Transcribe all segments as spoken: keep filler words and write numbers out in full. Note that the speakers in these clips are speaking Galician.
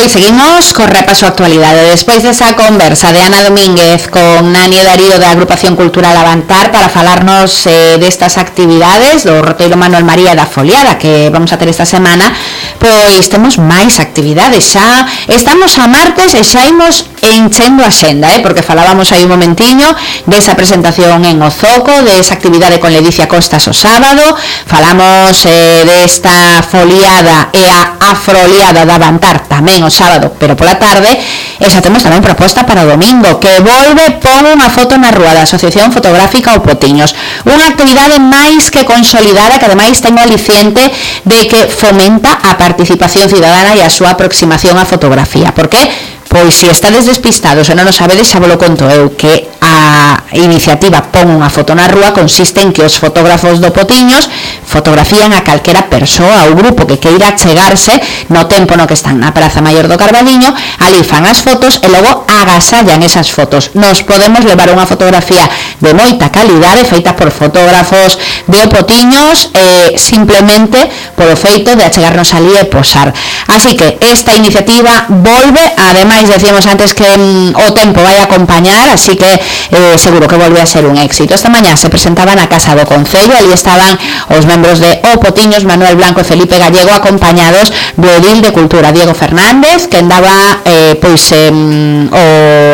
Pois seguimos co repaso a actualidade. Despois desa conversa de Ana Domínguez con Nani Darío da Agrupación Cultural Avantar para falarnos eh, destas actividades do roteiro Manuel María da Foliada que vamos a ter esta semana, pois temos máis actividades. Xa estamos a martes e xa imos enchendo a xenda, eh, porque falábamos aí un momentiño desa presentación en Ozoco, desa actividade con Ledicia Costas o sábado, falamos eh, desta foliada e a afroliada da Avantar tamén o sábado, pero pola tarde, e xa temos tamén proposta para o domingo, que volve Pon unha foto na rúa da Asociación Fotográfica O Potiños, unha actividade máis que consolidada que ademais ten o aliciente de que fomenta a participación cidadana e a súa aproximación á fotografía. Por que? Pois se estades despistados e non o sabedes, xa vos lo conto eu, que a iniciativa Pon unha foto na rúa consiste en que os fotógrafos do Potiños fotografían a calquera persoa ou grupo que queira chegarse no tempo no que están na Praza Maior do Carballiño, ali fan as fotos e logo agasallan esas fotos. Nos podemos levar unha fotografía de moita calidade feita por fotógrafos de O Potiños eh, simplemente polo feito de achegarnos ali e posar. Así que esta iniciativa volve, ademais decíamos antes que mm, o tempo vai a acompañar, así que eh, seguro que volve a ser un éxito. Esta mañá se presentaba na Casa do Concello, ali estaban os membros de O Potiños, Manuel Blanco e Felipe Gallego, acompañados do edil de Cultura, Diego Fernández, que andaba eh, pois eh, o,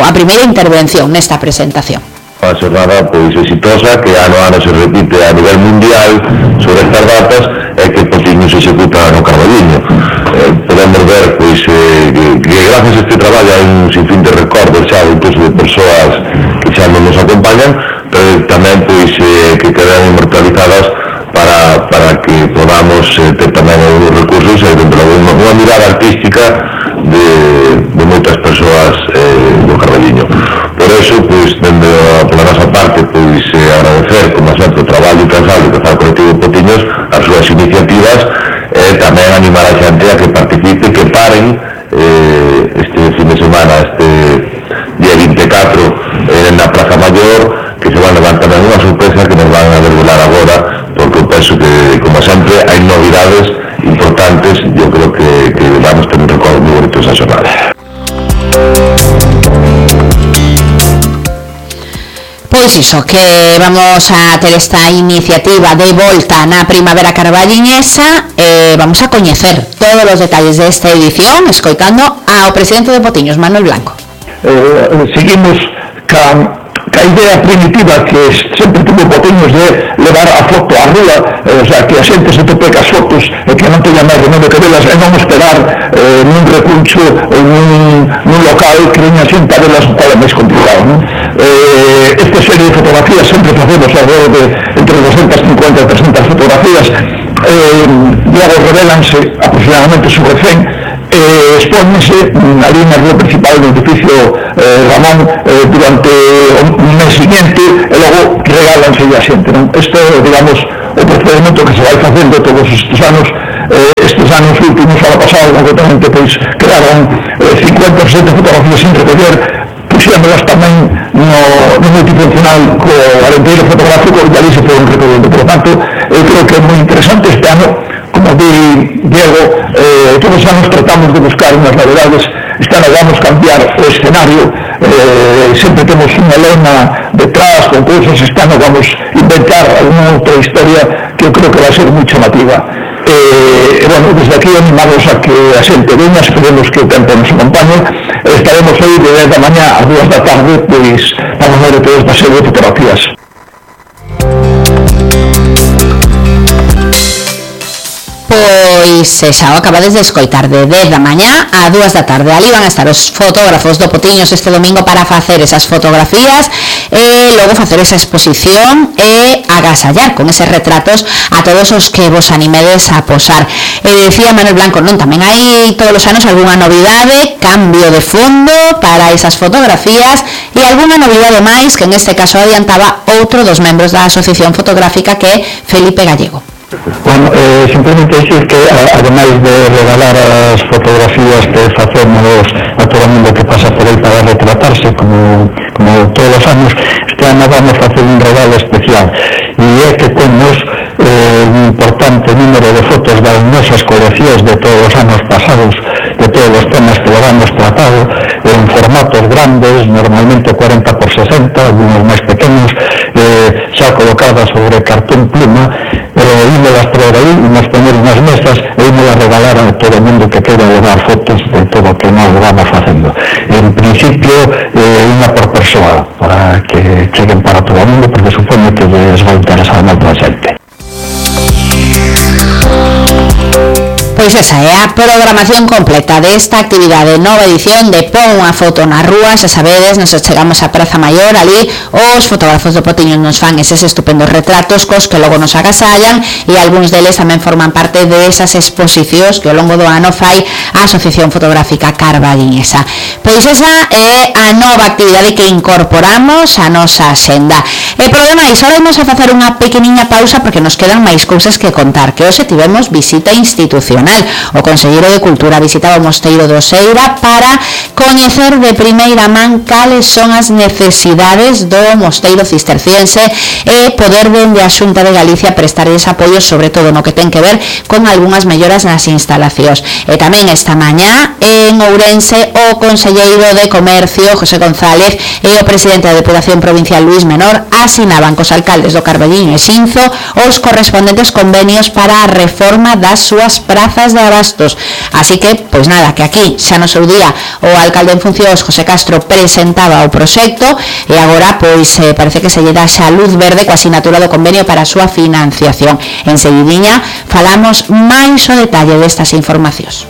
a primeira intervención nesta presentación. Unha xornada pois exitosa que ano a ano se repite a nivel mundial sobre estas datas e que Potiños se executa no Carballiño. Eh, podemos ver pois eh, que, que gracias a este traballo hai un sinfín de recordos xa incluso de persoas que xa non nos acompañan, pero tamén pois eh, que quedan inmortalizadas para, para que podamos eh, ter tamén algunos recursos e dentro de unha, unha mirada artística de, de moitas persoas eh, do Carballiño. Por eso, pois, dende a, pola nosa parte, pois, eh, agradecer, como sempre, o traballo incansable que faz o colectivo Potiños, as súas iniciativas, e eh, tamén animar a xente a que participe, que paren eh, este fin de semana, este día vinte e catro, eh, na Praza Maior, que se van a levar tamén unha sorpresa que nos van a desvelar agora, porque eu penso que, como sempre, hai novidades importantes. Eu creo que, que vamos ter un recordo moi bonito esa xornada. Pois iso, que vamos a ter esta iniciativa de volta na Primavera Carballiñesa e eh, vamos a coñecer todos os detalles desta edición escoitando ao presidente de Potiños, Manuel Blanco. Eh, seguimos ca, ca idea primitiva que sempre tuvo Potiños de levar a foto á rúa, eh, o sea, que a xente se tope cas fotos e que non teña máis remedio que velas e non esperar eh, nun recuncho ou nun, nun local que veña xente a velas tal é máis complicado, non? Eh, esta serie de fotografías sempre facemos alrededor de entre doscientas cincuenta e trescientas fotografías, eh, logo revelanse aproximadamente sobre cen, eh, expónense ali na rúa principal do edificio eh, Ramón eh, durante o mes seguinte e logo regálanse a xente, non? Isto é, digamos, o procedimento que se vai facendo todos estes anos. Eh, estes anos últimos, ano pasado, concretamente, pois, quedaron eh, cincuenta ou sesenta fotografías sin recoller, puxémolas tamén no, no multifuncional co alenteiro fotográfico e ali se foron recollendo. Por lo tanto, eu creo que é moi interesante este ano, como di Diego, eh, todos os anos tratamos de buscar unhas novedades. Este ano vamos cambiar o escenario, eh, sempre temos unha lona detrás con cousas. Este ano vamos inventar alguna outra historia que eu creo que vai ser moi chamativa. E, eh, bueno, desde aquí animamos a que a xente veña, esperemos que o tempo nos acompañe. Estaremos aí de dez da mañá a dúas da tarde, pois vamos ver toda esta serie de fotografías. Pois xa o acabades de escoitar, de dez da mañá a dúas da tarde. Ali van a estar os fotógrafos do Potiños este domingo para facer esas fotografías e logo facer esa exposición e agasallar con eses retratos a todos os que vos animedes a posar. E decía Manuel Blanco, non, tamén hai todos os anos algunha novidade, cambio de fondo para esas fotografías e algunha novidade máis que en este caso adiantaba outro dos membros da Asociación Fotográfica, que é Felipe Gallego. Bueno, eh, simplemente decir que ademais de regalar as fotografías que facemos a todo o mundo que pasa por aí para retratarse como, como todos os anos, este ano vamos facer un regalo especial e é que temos eh, un importante número de fotos das nosas coleccións de todos os anos pasados, de todos os temas que levamos o mundo que queda levar fotos de todo o que nós vamos facendo. En principio, eh, unha por persoa, para que cheguen para todo o mundo, porque supoño que les vai interesar moito a xente. Pois esa é a programación completa desta actividade, nova edición de Pon unha foto na rúa. Xa sabedes, nos chegamos á Praza Maior, ali os fotógrafos do Potiño nos fan eses estupendos retratos cos que logo nos agasallan, e algúns deles tamén forman parte desas exposicións que ao longo do ano fai a Asociación Fotográfica Carballiñesa. Pois esa é a nova actividade que incorporamos á nosa axenda. E por demais, ahora vamos a facer unha pequeniña pausa porque nos quedan máis cousas que contar, que hoxe tivemos visita institucional. O Conselleiro de Cultura visitaba o Mosteiro do Oseira para coñecer de primeira man cales son as necesidades do Mosteiro Cisterciense e poder dende a Xunta de Galicia prestar ese apoio, sobre todo no que ten que ver con algunhas melloras nas instalacións. E tamén esta mañá en Ourense o Conselleiro de Comercio, José González, e o Presidente da Deputación Provincial, Luis Menor, asinaban cos alcaldes do Carballiño e Xinzo os correspondentes convenios para a reforma das súas prazas de abastos. Así que, pois nada, que aquí xa no seu día o alcalde en funcións, José Castro, presentaba o proxecto e agora pois eh, parece que se lle dá xa luz verde coa asinatura do convenio para a súa financiación. En seguidiña falamos máis o detalle destas informacións.